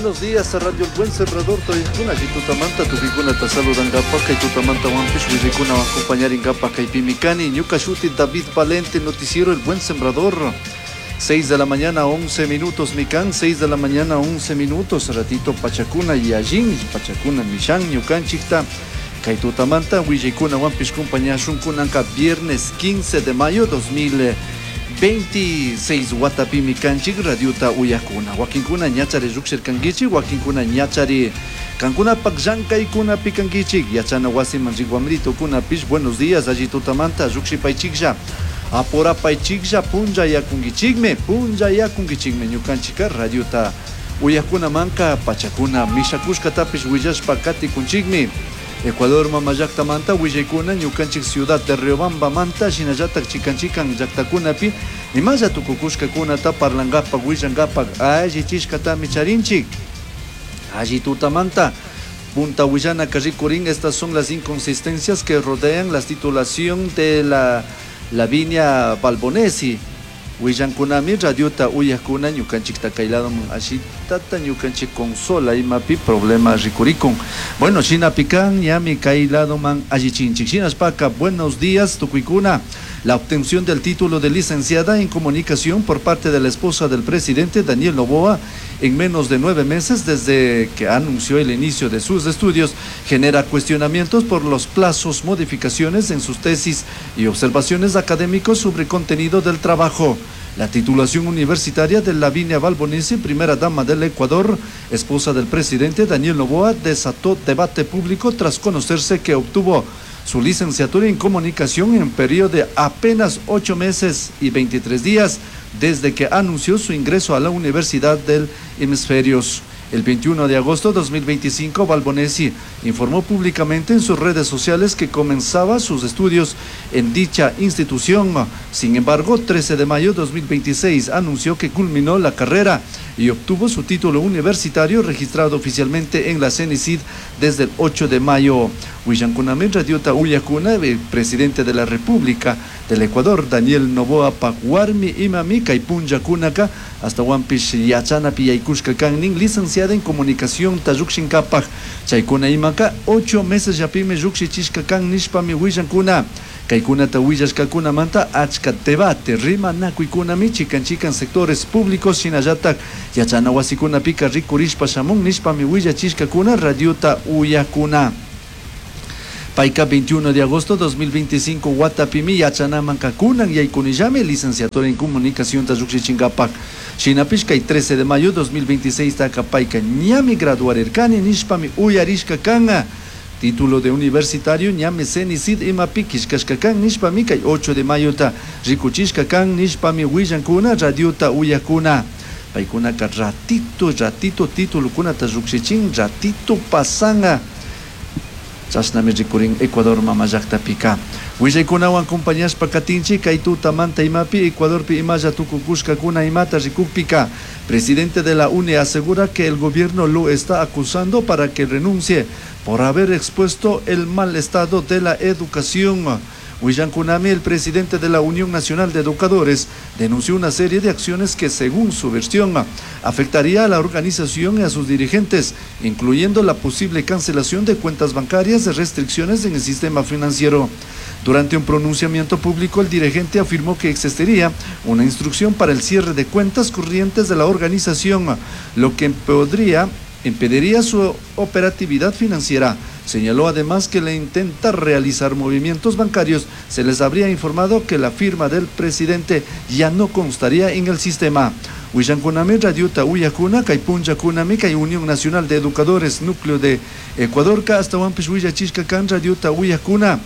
Buenos días, Radio El Buen Sembrador, Toyakuna, tutamanta, tukuikunata saludangapak, kay tutamanta wampis willaykunawan acompañaringapak kaypimi kani, ñuka shuti David Valente, noticiero El Buen Sembrador. 6 de la mañana, 11 minutos, mikan, 6 de la mañana, 11 minutos, ratito pachakuna y allin, pachakuna mishan, ñukanchikta, kay tutamanta, willaykuna wampis compañashun kunanka viernes 15 de mayo 2026 watapimi kanchik radiota uyakuna. Wakinkuna ñachari lluqshirkankichik, wakinkuna ñachari kankunapak llank'aykunapi kankichik, yachana wasiman rik wamritukunapish, buenos días, alli tutamanta lluqshipaychiklla, apurapaychiklla, punllayakunkichikmi, punllayakunkichikmi ñukanchikka radiota uyakunamanka pachakuna mishakushkatapish willashpa katikunchikmi. Ecuador mama llaktamanta willaykuna ñukanchik ciudad de Riobambamanta shinallatak chikan chikan llaktakunapi imalla tukukushkakunata parlankapak willankapak allichishkatami charinchik. Alli tutamanta Punta Willana rikurin, estas son las inconsistencias que rodean la titulación de la Lavinia Valbonesi. Willankunami radiota uyakuna ñukanchikta kay ladoman ashitata ñukanchik consola imapi problema rikurikun. Bueno, shinapikan ñami kay ladoman allichinchik. Shinashpaka, buenos días tukuykuna. La obtención del título de licenciada en comunicación por parte de la esposa del presidente Daniel Noboa en menos de 9 meses desde que anunció el inicio de sus estudios genera cuestionamientos por los plazos, modificaciones en sus tesis y observaciones académicos sobre contenido del trabajo. La titulación universitaria de Lavinia Valbonesi, primera dama del Ecuador, esposa del presidente Daniel Noboa, desató debate público tras conocerse que obtuvo su licenciatura en comunicación en periodo de apenas 8 meses y 23 días desde que anunció su ingreso a la Universidad del Hemisferios. El 21 de agosto de 2025, Valbonesi informó públicamente en sus redes sociales que comenzaba sus estudios en dicha institución. Sin embargo, 13 de mayo de 2026 anunció que culminó la carrera y obtuvo su título universitario registrado oficialmente en la CENICID desde el 8 de mayo. Willankunami radiota uyakuna, el presidente de la República del Ecuador, Daniel Noboa Paguarmi imami kay punllakunaka hasta wampish yachanapi yaykushka kannin, licenciada en comunicación tallukshinkapaj chaykuna imaka 8 meses llapimi llukshichishka kan nishpami willankuna. Kaykunata willashkakunamanta achka debate rimanakuykunami chikan chikan sectores públicos shinallatak yachana wasikunapika rikurishpa shamun nishpami willachishkakuna radiota uyakuna. Payka 21 de agosto 2025 watapimi yachanaman kakunan yaykunillami licenciatura en comunicación tallukshichinkapaj. Shinapish kay 13 de mayo 2026 taka payka ñami graduarirkani nishpami uyarishka kanka. Título de universitario ñami CENICID imapi kishkashka kan nishpami kay 8 de mayo ta rikuchishka kan nishpami willankuna radiota uyakuna. Paykunaka ratito, ratito titulukunata lluqshichin, ratito pasanga. Chashnami rikurin Ecuador mama llaqtapika. Willaykunawan compañashpa katinchik kay tutamanta imapi Ecuadorpi imalla tukukushkakuna imata rikukpika. Presidente de la UNE asegura que el gobierno lo está acusando para que renuncie por haber expuesto el mal estado de la educación. Willankunami, el presidente de la Unión Nacional de Educadores, denunció una serie de acciones que, según su versión, afectaría a la organización y a sus dirigentes, incluyendo la posible cancelación de cuentas bancarias y restricciones en el sistema financiero. Durante un pronunciamiento público, el dirigente afirmó que existiría una instrucción para el cierre de cuentas corrientes de la organización, lo que impediría su operatividad financiera. Señaló además que al intentar realizar movimientos bancarios, se les habría informado que la firma del presidente ya no constaría en el sistema. Willankunami, radiota uyakuna, kay punllakunami, kay Unión Nacional de Educadores, Núcleo de Ecuador, ka hasta wampish willachishka kan radiota uyakuna.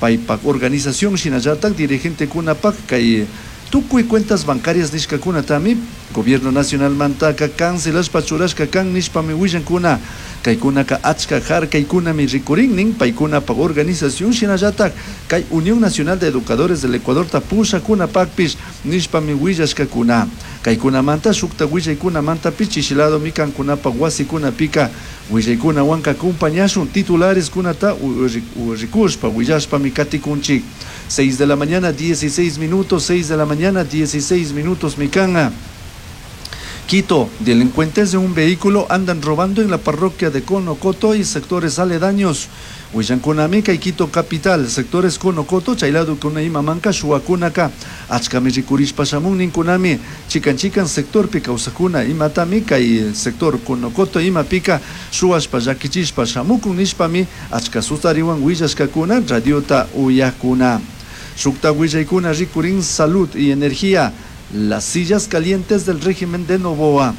Paypak organización shinallatak dirigente kunapak kay tukuy cuentas bancarias nishkakunatami Gobierno Nacional mantaka cancelashpa churashka kan nishpami willankuna. Kaykunaka achka harkaykunami rikurinnin paykunapak organización shinallatak kay Unión Nacional de Educadores del Ecuador tapushakunapakpish nishpami willashkakuna. Kaykunamanta shukta willaykunamanta chishiladomi kankunapak wasikunapika willaykunawanka acompañashun titulares kunata rikushpa willashpami katikunchik. 6 de la mañana 16 minutos, 6 de la mañana 16 minutos mikanga. Quito, delincuentes de un vehículo andan robando en la parroquia de Conocoto y sectores aledaños. Willankunami kay Quito capital, sectores Conocoto, chay ladokuna imamanka shuwakunaka, achkami rikurishpa shamun ninkunami, chikan chikan sectorpi kawsakuna imatami kay sector Conocoto imapika shuwashpa llakichishpa shamukun nishpami achka sustariwan willashkakuna radiota uyakuna. Shukta willaykuna rikurin salud y energía, las sillas calientes del régimen de Noboa.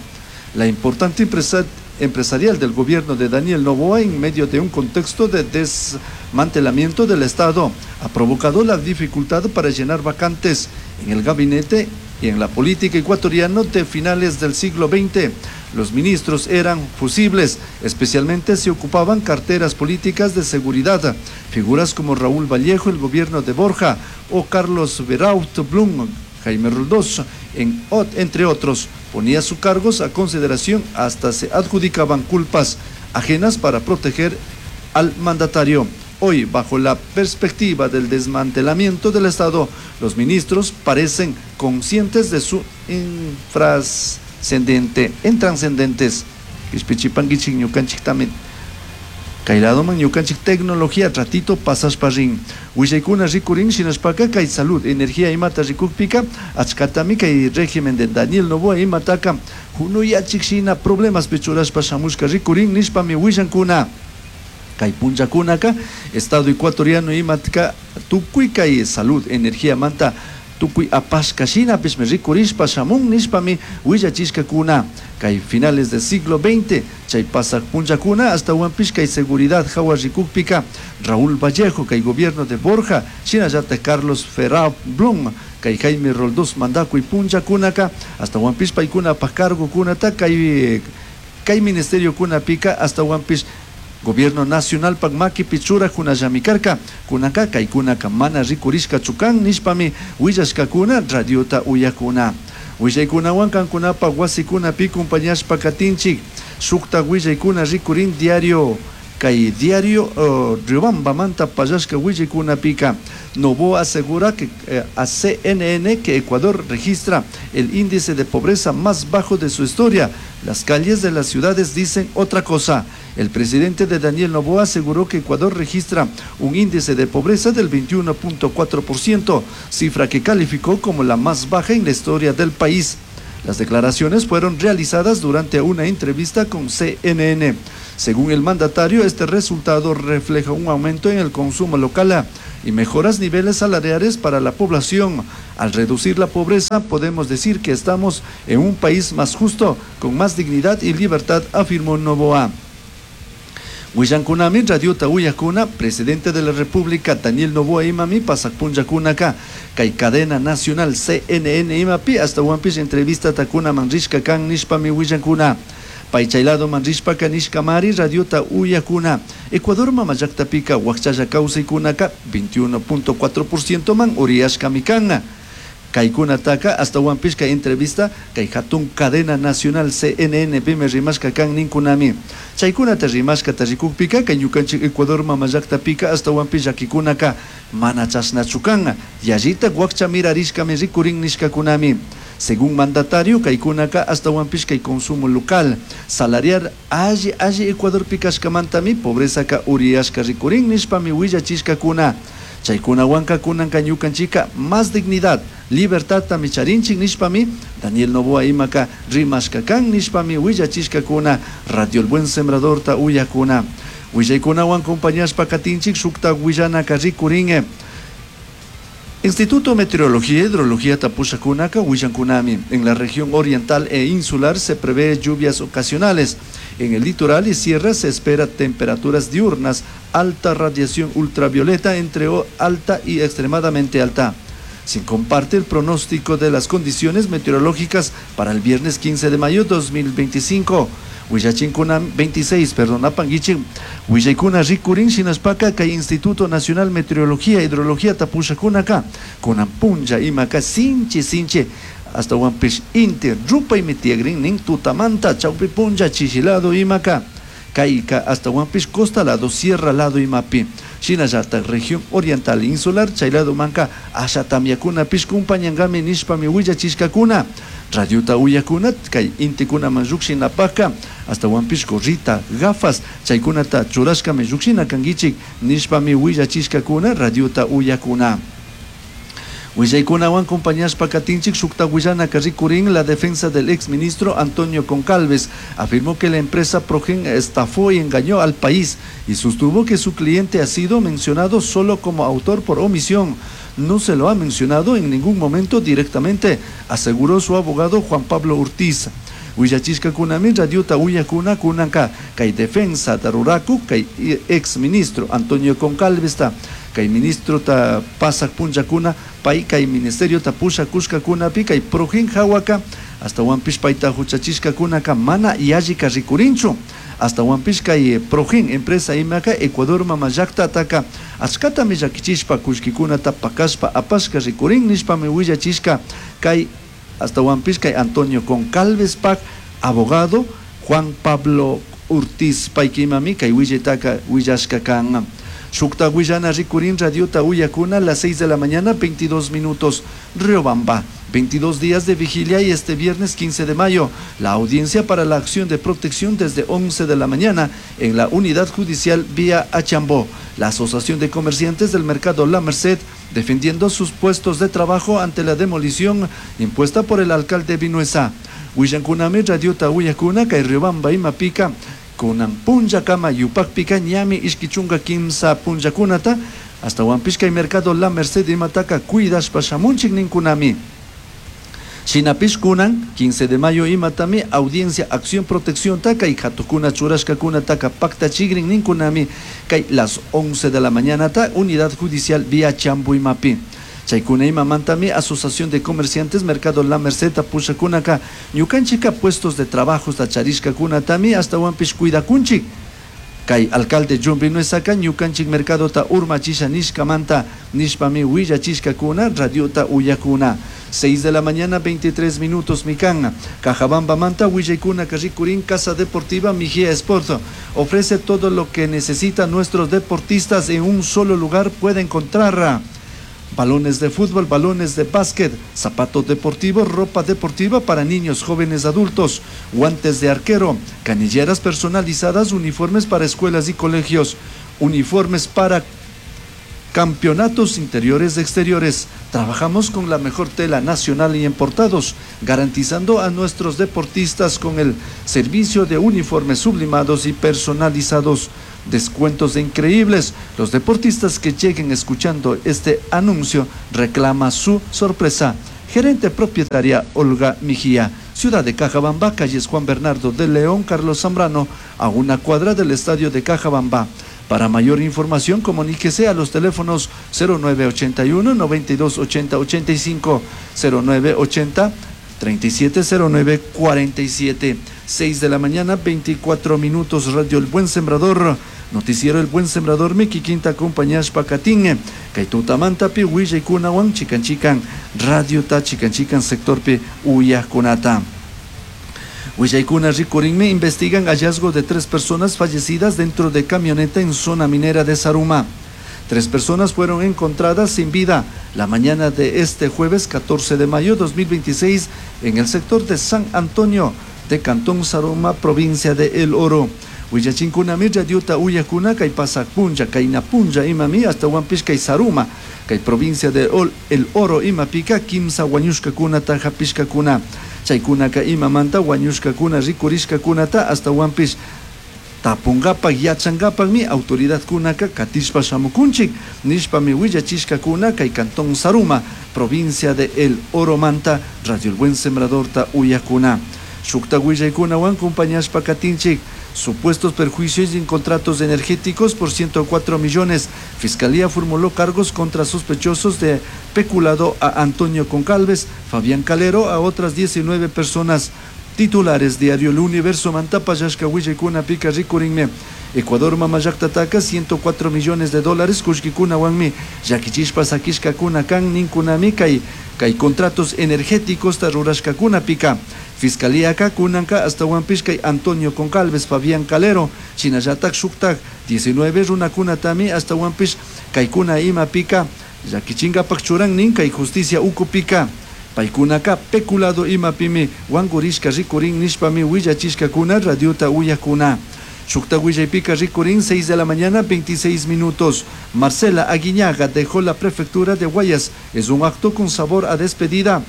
La importante empresa empresarial del gobierno de Daniel Noboa, en medio de un contexto de desmantelamiento del Estado, ha provocado la dificultad para llenar vacantes en el gabinete y en la política ecuatoriana de finales del siglo XX. Los ministros eran fusibles, especialmente si ocupaban carteras políticas de seguridad. Figuras como Raúl Vallejo, el gobierno de Borja, o Carlos Beraut Blum, Jaime Roldós, entre otros, ponía sus cargos a consideración, hasta se adjudicaban culpas ajenas para proteger al mandatario. Hoy, bajo la perspectiva del desmantelamiento del Estado, los ministros parecen conscientes de su infrascendente, intranscendentes. Kay ladoman ñukanchik tecnología ratito pasashpa rin. Willaykuna rikurin shinashpaka kay salud, energía imata rikukpika achkatami kay régimen de Daniel Noboa imataka hunuyachik shina problemaspi churashpa shamushka rikurin nishpami willankuna. Kay punllakunaka Estado ecuatoriano imatka tukuy kay salud, energía manta tukuy apashka shinapishmi rikurishpa shamun nishpami willachishkakuna. Kay finales del siglo XX, chay pasak punllakuna ashtawanpish kay seguridad hawa rikukpika Raúl Vallejo, kay gobierno de Borja, shinallatak Carlos Ferrao Blum, kay Jaime Roldós mandakuy punllakunaka ashtawanpish paykunapak cargokunata kay kay ministerio kunapika ashtawanpish Gobierno nacional pak makipi churakunallami karka, kunanka kaykunaka mana rikurishkachu kan nishpami willashkakuna radiota uyakuna. Willaykunawan kankunapak wasikunapi compañashpa katinchik, shuktak willaykuna rikurin diario kay diario Riobambamanta pallashka willaykunapika. Noboa asegura que a CNN que Ecuador registra el índice de pobreza más bajo de su historia. Las calles de las ciudades dicen otra cosa. El presidente de Daniel Noboa aseguró que Ecuador registra un índice de pobreza del 21.4%, cifra que calificó como la más baja en la historia del país. Las declaraciones fueron realizadas durante una entrevista con CNN. Según el mandatario, este resultado refleja un aumento en el consumo local y mejoras niveles salariales para la población. Al reducir la pobreza, podemos decir que estamos en un país más justo, con más dignidad y libertad, afirmó Noboa. Willankunami radiota uyakuna, presidente de la República Daniel Noboa imami pasak punllakunaka kay cadena nacional CNN imapi ashtawanpish entrevista takuna manrishka kan nishpami willankuna. Pay chay ladoman rishpaka nishkamari radiota uyakuna. Ecuador mama llaktapika wakchalla kawsaykunaka 21.4% man uriyashkami kan. Kaykunataka ashtawanpish kay entrevista kay hatun cadena nacional CNN pimi rimashka kan ninkunami. Chaykunata rimashkata rikukpika kay ñukanchik Ecuador mama llaktapika ashtawanpish llakikunaka mana chashnachu kan. Yallitak wakcha mirarishkami rikurin nishkakunami. Según mandatario, kaykunaka ashtawanpish kay consumo local, salarial alli alli Ecuadorpi kashkamantami pobrezaka uriyashka rikurin nishpami willachishkakuna. Chaykunawanka kunanka ñukanchika más dignidad, libertadtami charinchik nishpami Daniel Noboa imaka rimashka kan nishpami willachishkakuna Radio El Buen Sembradorta uyakuna. Willaykunawan compañashpa katinchik shukta willanaka rikurin. Instituto Meteorología e Hidrología Tapushakunaka willankunami. En la región oriental e insular se prevé lluvias ocasionales. En el litoral y sierra se espera temperaturas diurnas, alta radiación ultravioleta entre alta y extremadamente alta. Se comparte el pronóstico de las condiciones meteorológicas para el viernes 15 de mayo 2025. Willachinkuna 26, perdón, apanguichi, Willaykuna rikurin shinashpaka kay Instituto Nacional Meteorología e Hidrología Tapushakunaka, kunan punlla imaka sinchi sinchi, ashtawanpish inti rupaymi tiyagrin nin tutamanta chawpi punlla chishilado imaka. Kayka ashtawanpish costa lado, sierra lado imapi. Shinallatak región oriental insular chay ladomanka asha tamyakunapish kumpañankami nishpami willachishkakuna. Radiota uyakuna kay intikunaman llukshinapakka ashtawanpish gorrita, gafas chaykunata churashkami llukshina kankichik nishpami willachishkakuna radiota uyakuna. Willaykunawan compañashpa katinchik shukta willanaka rikurin. La defensa del exministro Antonio Goncalves afirmó que la empresa Progen estafó y engañó al país y sostuvo que su cliente ha sido mencionado solo como autor por omisión. No se lo ha mencionado en ningún momento directamente, aseguró su abogado Juan Pablo Ortiz. Willachishkakunami radiota uyakuna kunanka kay defensa ruraku kay exministro Antonio Goncalvesta kay ministrota pasak punllakuna pay kay ministeriota pushakushkakunapi kay Progen hawaka ashtawanpish payta huchachishkakunaka mana yallika rikurinchu. Ashtawanpish kay Progen empresa imaka Ecuador mama llaktataka achkatami llakichishpa kullkikunata pakashpa apashka rikurin nishpami willachishka kay ashtawanpish kay Antonio Goncalvespak abogado Juan Pablo Ortiz paykimami kay willaytaka willashka kan. Shukta willana rikurin radiota uyakuna a las 6 de la mañana 22 minutos. Riobamba, 22 días de vigilia y este viernes 15 de mayo, la audiencia para la acción de protección desde 11 de la mañana en la unidad judicial vía Achambó. La Asociación de Comerciantes del Mercado La Merced defendiendo sus puestos de trabajo ante la demolición impuesta por el alcalde Vinuesa. Willankunami radiota uyakuna kay Riobamba imapika kunan punllakama yupakpika ñami ishki chunka kimsa punllakunata ashtawanpish kay mercado La Merced imataka cuidashpa shamunchik ninkunami. Shinapish kunan 15 de mayo imatami audiencia acción protección taka y hatukuna churashkakunataka paktachigrin ninkunami kay las 11 de la mañana ta unidad judicial vía Chambo imapi. Chaykuna imamantami Asociación de Comerciantes Mercado La Merced pushakunaka ñukanchika puestos de trabajo charishkakunatami ashtawanpish cuidakunchik. Kay alcalde John Vinuesaka ñukanchik mercadota urmachisha nishkamanta nishpami willachishkakuna radiota uyakuna. 6 de la mañana 23 minutos mikan. Cajabamba manta willaykuna rikurin. Casa Deportiva Mejía Sport ofrece todo lo que necesitan nuestros deportistas en un solo lugar. Puede encontrar balones de fútbol, balones de básquet, zapatos deportivos, ropa deportiva para niños, jóvenes, adultos, guantes de arquero, canilleras personalizadas, uniformes para escuelas y colegios, uniformes para campeonatos interiores y exteriores. Trabajamos con la mejor tela nacional y importados, garantizando a nuestros deportistas con el servicio de uniformes sublimados y personalizados. Descuentos increíbles. Los deportistas que lleguen escuchando este anuncio reclama su sorpresa. Gerente propietaria Olga Mejía, Ciudad de Cajabamba, calles Juan Bernardo de León, Carlos Zambrano, a una cuadra del estadio de Cajabamba. Para mayor información, comuníquese a los teléfonos 0981 92 80 85, 0980 3709 47. 6 de la mañana, 24 minutos, Radio El Buen Sembrador. Noticiero El Buen Sembrador, Miki Quinta, compañías Pacatín, Kaitutamanta, pi, Willaykunawan, Chican Chican, Radio Ta, Chican Chican, sector Pi, Uyakunata. Willaykuna rikurinmi investigan hallazgo de 3 personas fallecidas dentro de camioneta en zona minera de Zaruma. 3 personas fueron encontradas sin vida la mañana de este jueves 14 de mayo 2026 en el sector de San Antonio de Cantón Zaruma, provincia de El Oro. Willachinkunami radiota uyakuna kay pasak punlla, kay napunlla imami hasta Huampish kay Zaruma, kay provincia de El Oro imapika kimsa wañushkakunata hapishkakuna. Chaykunaka imamanta wañushkakuna rikurishkakunata hasta Huampish tapungapak yachangapakmi autoridadkunaka katishpa shamukunchik nishpami willachishkakuna kay Cantón Zaruma, provincia de El Oro manta, Radio El Buen Sembradorta uyakuna. Shukta willaykunawan compañashpa katinchik supuestos perjuicios en contratos energéticos por 104 millones. Fiscalía formuló cargos contra sospechosos de peculado a Antonio Goncalves, Fabián Calero, a otras 19 personas. Titulares Diario El Universo, Mantapa, Yashka, Willaykuna, Pica, Rikurinme. Ecuador, Mamayactataka, 104 millones de dólares, Kushkikuna, Wanmi, Yakichishpa, Sakishka, Kuna, Kan, Ninkuna, Kay, Kay contratos energéticos, Tarurashka, Kuna, Pica. Fiscalíaka kunanka ashtawanpish kay Antonio Goncalves, Fabián Calero, shinallatak shuktak 19 runakunatami ashtawanpish kaykuna imapika llakichinkapak churan nin kay justicia ukupika. Paykunaka peculado imapimi wankurishka rikurin nishpami willachishkakuna radiota uyakuna. Shukta willaypika rikurin 6 de la mañana 26 minutos. Marcela Aguiñaga dejó la prefectura de Guayas. Es un acto con sabor a despedida,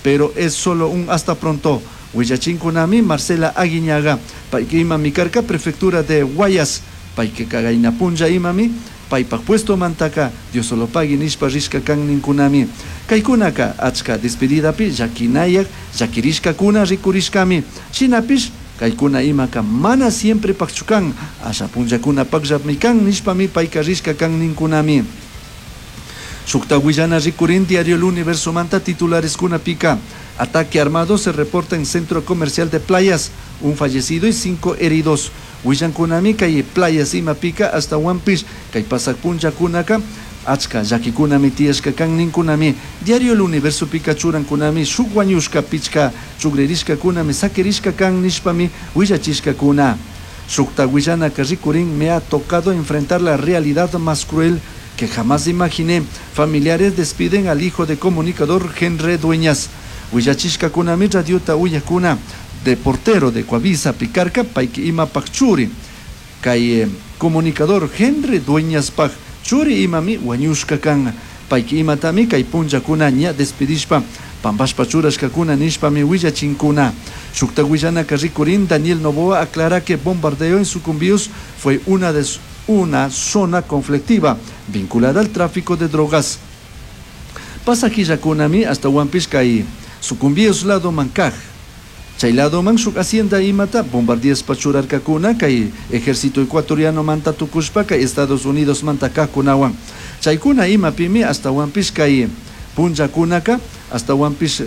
pero es solo un hasta pronto. Willachinkunami Marcela Aguiñaga. Payka imami karka prefectura de Guayas. Payka kagayna punlla imami paypak puesto mantaka Diosolopagui nishpa rishka kan ninkunami. Kaykunaka achka despedidapi llakinayak llakirishkakuna rikurishkami. Shinapish kaykuna imaka mana siempre pakchu kan, asha punllakunapakllami kan nishpami payka rishka kan ninkunami. Shukta willana rikurin diario El Universo manta titulares kunapika. Ataque armado se reporta en centro comercial de Playas, un fallecido y 5 heridos. Willankunami kay Playas imapika hasta Huampish, kay pasak punllakunaka, achka llakikunami tiyashka kan ninkunami. Diario El Universo pika churankunami, shuk wañushka pichka chugririshkakunami sakirishka kan nishpami willachishkakuna. Shukta willanaka rikurin me ha tocado enfrentar la realidad más cruel que jamás imaginé. Familiares despiden al hijo de comunicador Henry Dueñas. Willachishkakunami radiota uyakuna de portero de Coavisa Picarca, payki imapak churi. Kay comunicador Henry Dueñas pak churi imami wañushka kan. Payki imatami kay punllakuna ña despedishpa pampashpa churashkakuna nishpami willachinkuna. Shukta willanaka rikurin Daniel Noboa aclara que bombardeo en Sucumbíos fue una zona conflictiva vinculada al tráfico de drogas. Pasajillakunami hasta Huampish kay Sucumbíos lado mankaj. Chay lado man shuk hacienda imata bombardeaspa churarkakuna kay ejército ecuatoriano manta tukushpa kay Estados Unidos manta kajkunawan. Chaykuna imapimi hasta Huampish kay punllakunaka hasta Huampish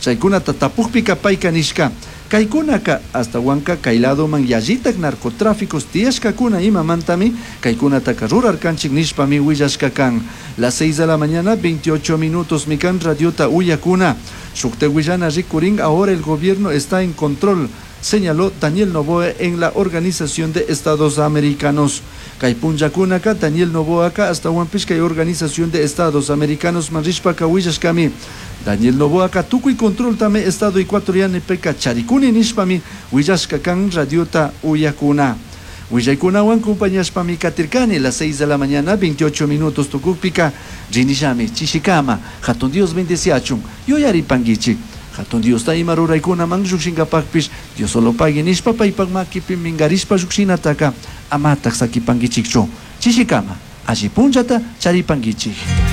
chaykunata tapukpika payka nishka. Kaykunaka hasta Huanca kay lado man yallitak narcotráficos tiyashkakuna imamantami kaykunataka rurarkanchik nishpami willashka kan. Las 6 de la mañana 28 minutos mikan radiota uyakuna. Shukta willana rikurin ahora el gobierno está en control, señaló Daniel Noboa en la Organización de Estados Americanos. Kay punllakunaka Daniel Noboa ka hasta Huampish kay Organización de Estados Americanos manrishpaka willashkami. Daniel Noboa ka tukuy control tame Estado ecuatoriano peka charikuni nishpami willashka kan radiota uyakuna. Willaykunawan compañashpami katirkani las 6 de la mañana 28 minutos tukukpika rinishami chishikama hatun Dios bendeciachun yuyaripankichik. Hatun Dios ta ima ruraykunaman llukshinkapakpish Dios solo pagui nishpa paypak makipi mingarishpa llukshinataka amatak sakipankichikchu. Chishikama alli punllata charipankichik.